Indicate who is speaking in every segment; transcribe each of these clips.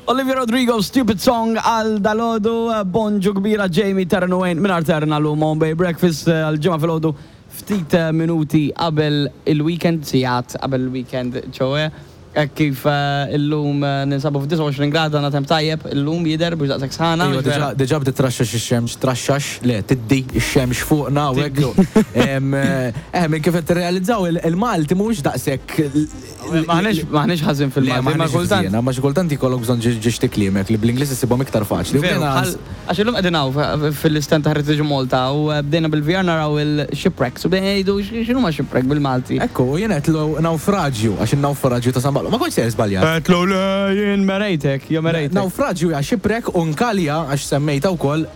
Speaker 1: Olivia Rodrigo, Stupid Song għal dalgħodu, bonġu kbira Jamie Taryn u Wayne mingħajr Taryn għal Home Bay Breakfast għal ġimgħa filgħodu ftit minuti qabel il-weekend, sigħat qabel il-weekend ċoe. Hekk kif illum ninsabu f'29 grad għandna temp tajjeb illum jidher mhux daqshekk sħana.
Speaker 2: Iva diġà diġà bdiet traxxax ix-xemx, traxxax, le tiddi x-xemx fuqna u hekk. Eh minn kif qed tirrealizzaw il-Malti mhuwiex daqshekk
Speaker 1: M'aħniex m'aħniex ħażin fil-Malti,
Speaker 2: ma kultant. Ma xi kultant jkollok bżonn ġiex tikliemek li bl-Ingliż issibhom iktar faċli.
Speaker 1: Veru, bħal għax illum qegħdin hawn fil-istand ta' Heritage Malta u bdejna bil-VR naraw il-shipwrecks u bdejna ngħidu x'inhuma shipwreck bil-Malti.
Speaker 2: Ekku, u jien għedtlu nawfraġju għax in-nawfraġju ta' San Pawl. Ma kontx sejjer żbaljat.
Speaker 1: Għedtlu le jien merejtek, jew merejtek.
Speaker 2: Nawfraġju hija shipwreck u nkalja għax semmejtha wkoll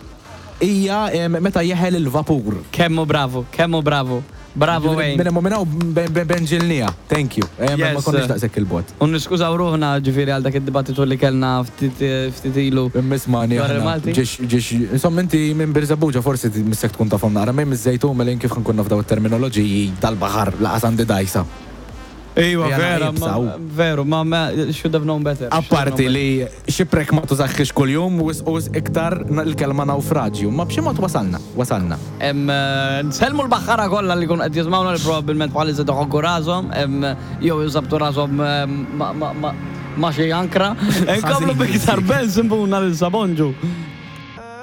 Speaker 2: Hija meta jeħel il-vapur.
Speaker 1: Kemm hu bravu, kemm hu bravu. Bravo Wayne.
Speaker 2: Minn hemm u minn hawn benġilniha. Thank you. Ma konniex daqshekk 'il bogħod.
Speaker 1: U niskużaw ruħna ġifieri għal dak id-dibattitu li kellna ftit ftit ilu.
Speaker 2: Imma ismagħni aħna ġiex ġiex insomma inti minn Birżebbuġa forsi missek tkun tafhom naqra, imma jien miż-Żejtun mela jien kif ħa nkun naf dawn it-terminoloġiji tal-baħar laqas għandi dgħajsa.
Speaker 1: Iva vera, veru, ma should have known better.
Speaker 2: Apparti li Shipwreck ma tużahhiex kuljum, wisq u wisq iktar l-kelma nawfraġju. Imma b'xi mod wasalna, wasalna.
Speaker 1: Nsellmu l-baħħara kollha li jkunu qed jismgħuna li probabbilment bħalissa qed iħokku rashom jew isabbtu rashom ma' xi ankra. Inkomplu b'iktar Benson Boone għalissa, bonġu.